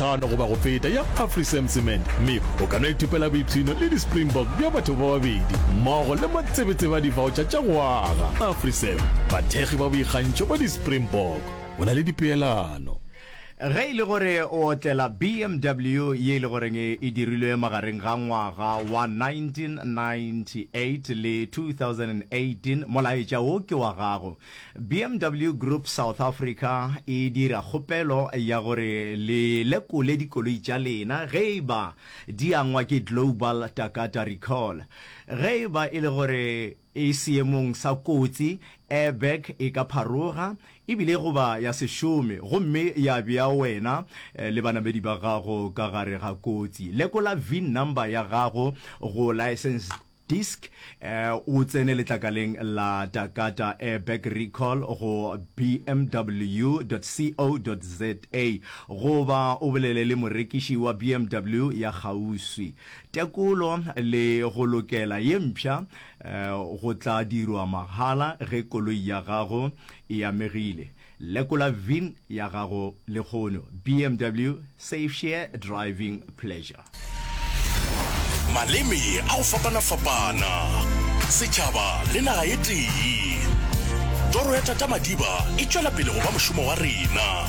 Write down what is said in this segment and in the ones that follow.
masometlhano goba go feta ya Afrisem Cement mme o ka no ithopela boipshino le di-Springbok bja batho ba babedi mmogo le matsebetsebe a divaotšha tša go aga. Afrisem, bathekgi ba boikgantšho ba di-Springbok. Go na le dipeelano. Ge e le gore o otlela BMW ye e le goreng e dirilwe magareng ga ngwaga wa 1998 le 2018, molaetša wo ke wa gago. BMW Group South Africa e dira kgopelo ya gore le lekole dikoloi tša lena ge e ba di angwa ke Global Takata Recall. Ge e ba e le gore e seemong sa kotsi, airbag e ka pharoga e bile goba ya se šome gomme ya bea wena le banamedi ba gago ka gare ga kotsi. Lekola VIN number ya gago go license disc, o tsene letlakaleng la Takata Airbag Recall go bmw.co.za goba o bolele le morekiši wa BMW ya kgauswi. Tekolo le go lokela ye mpsha go tla dirwa mahala ge koloi ya gago e amegile. Lekola VIN ya gago lehono. BMW Safe Share Driving Pleasure. Maleme a go fapana-fapana, setšhaba le naga e tee. Toro ya Tata Madiba e tšwela pele go ba mošomo wa rena.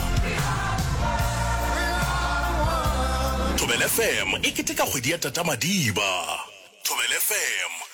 Thobela FM e keteka kgwedi ya Tata Madiba. Thobela FM.